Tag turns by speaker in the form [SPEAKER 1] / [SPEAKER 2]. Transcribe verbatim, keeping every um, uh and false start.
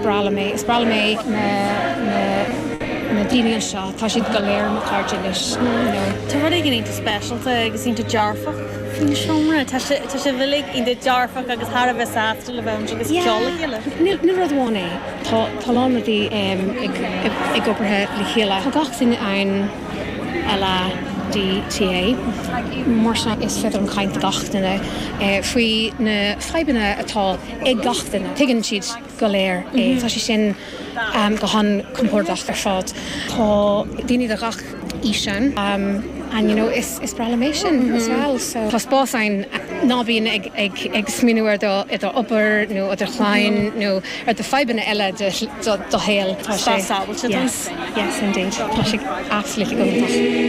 [SPEAKER 1] breá liom é is breá liom é na na na daoine anseo tá siad go léir mo chairde anois
[SPEAKER 2] Tá rud éigin iontach speisialta agus iontach dearfach faoin seomra Tá sé tá sé uilig iontach dearfach agus thar a bheith sásta le bheith agus ceol le chéile.
[SPEAKER 1] Ní rud amháin é tá tá lán rudaí ag ag obair le chéile. Tá gach duine ann LADTA mar sin is féidir an caint gach duine faoi na fadhbanna atá ag gach duine. Tuigeann siad go léir é Tá sé sin um, go han-compordach ar fad. Tá daoine de gach aois ann um, and you know is is breá liom é sin as well so tá spás ann ná bíonn ag ag ag smaoineamh ar do i do obair nó do chlann nó ar do fadhbanna eile do do do shaol
[SPEAKER 2] Tá sé
[SPEAKER 1] Yes yes indeed Tá sé absolutely go